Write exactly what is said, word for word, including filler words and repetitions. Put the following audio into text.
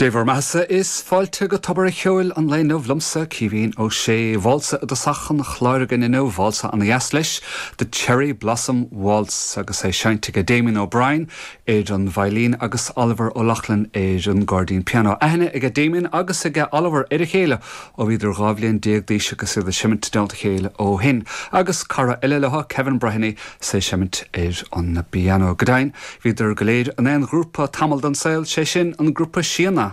Dé bhur mbeatha is fáilte go Tobar an Cheoil an lae inniu liomsa Caoimhín Ó Sé válsa i dtosach an chláir againn inniu válsa ana-dheas leis The Cherry Blossom Waltz agus é seinnte ag Damien O'Brien ar an veidhlín agus Oliver O'Loughlin ar an gcairdín pianó. Aithne ag Damien agus ag Oliver ar a chéile ó bhíodar dhá bhliain déag d'aois agus iad ag seimint i dteannta a chéile ó shin. Agus cara eile leo Kevin Breheny é ag seimint ar an bpianó. Go deimhin, bhíodar go léir in aon ghrúpa tamall den saol sé sin an grúpa Síona.